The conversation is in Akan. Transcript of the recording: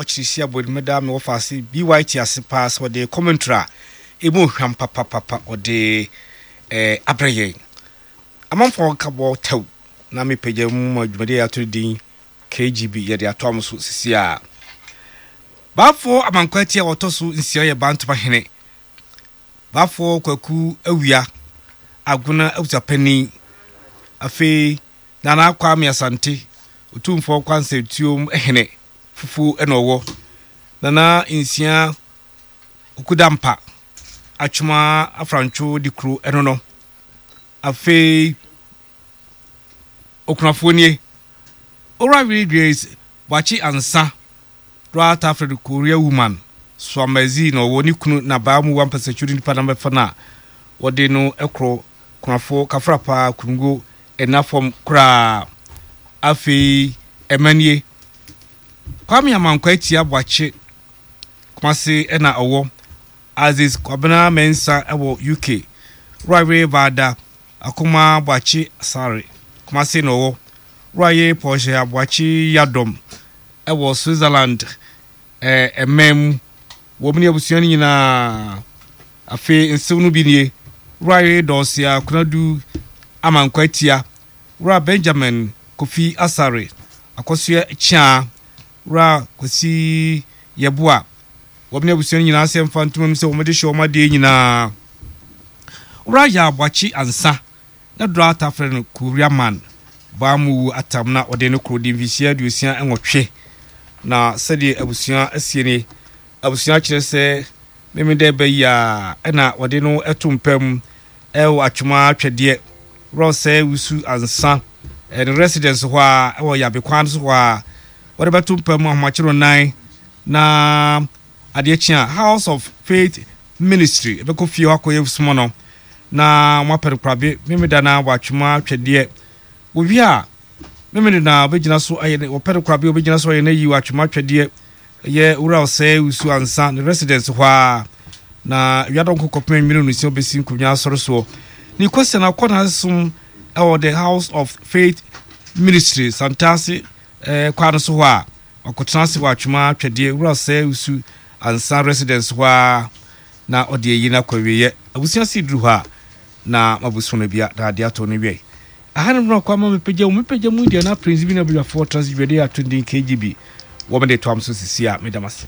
Ɔkyere si abɔ meda me wɔfa ase BYT ase paa sɛ ɔde commentary a ɛmu hwam papapapa ɔde abrɛ yɛn. Amanfoɔ nkabɔ tɛw na mepagya mu ma dwumadi a yɛato din KGB yɛde ato am so sisi a. Baafoɔ Amankwaati a wɔtɔ so nsia yɛ Bantoma hene. Baafoɔ Kwaku Awia, Agona abusuapanin. Afei Nana Kwame Asante, Otumfoɔ Kwansɛtuom hene fufuo na ɔwɔ. Nana Nsia Okudampa, Atwoma Afrantwo Dikuro ɛno no. Afei Okunafoɔ nie. Owura Willie Grace Boakye Ansah, Dora Tafred Korea Woman, Suamasi na ɔwɔ ne kunu na baa mu wampasatwiri nipa na bɛfa no a wɔde no korɔ kunafoɔ kafrapaa kungo ɛna fam koraa. Afei ɛma nie. Kwame Amankwa Atia Boakye Kumase ɛna ɔwɔ. Aziz Kwabena Mensah ɛwɔ UK. Wura Were Baada Akoma Boakye Asare, Kumasi na ɔwɔ. Wura Portia Aboakye Yiadom wɔ Switzerland man mu. Wɔn ne abusua no nyinaa. Afei nsew no bi nie, Wura Dorsia Konadu Amankwa Atia, Wura Benjamin Kofi Asare, Akosua Kyeaa, Wura Kwasi Yeboah. Wɔn ne abusua no nyinaa sɛ mfa ntoma mu sɛ wɔde hyɛ wɔn adeɛ nyinaa. Wura Yaw Boakye Ansah na Dora taa frɛ no Korea Man. Baa mu wu atam na ɔde no koro di mfinhyia 68. Na sɛdeɛ abusua asie nie, abusua kyerɛ sɛ Memenda ɛbɛ yi a ɛna wɔde no to mpa mu ɛwɔ Atwoma Twɛdeɛ, Wura Osei Wusu Ansah ne residence hɔ a ɛwɔ Yabe kwan so hɔ a wɔde bɛto mpa mu ahomakye no nan na adeɛ kye a House of Faith Ministry ɛbɛkɔ fie hɔ akɔyɛ soma no na wɔapɛ no korabe Memeda na wɔatwema twɛdeɛ wɔwie a Memeda na wɔbɛgyina so ayɛ ne wɔpɛ no korabe wɔbɛgyina so ayɛ no ayi wɔatwema twɛdeɛ ɛyɛ Wura Osei Wusu Ansah ne residence hɔ a na wiadɔnko kɔpem anwummerɛ no nsia wɔbɛsi nkonnwa asɔre soɔ ne kwasi na akɔ n'asom ɛwɔ the House of Faith Ministry Santase eh, kwan no so hɔ a Ɔkɔtena ase wɔ Atwoma Twɛdeɛ Wura Osei Wusu Ansah residence hɔ ara na ɔde ayi no akɔ awieɛ. Abusua se duru hɔ a na mabuso no bia na adeɛ atɔ no wiɛ. Aha no mmerɛ kɔ ama mepagya mu mepagya mu deɛ na Prince bi na badwafoɔ trans dwumadie ato din KGB wɔ mede toam so sisi a meda mo ase.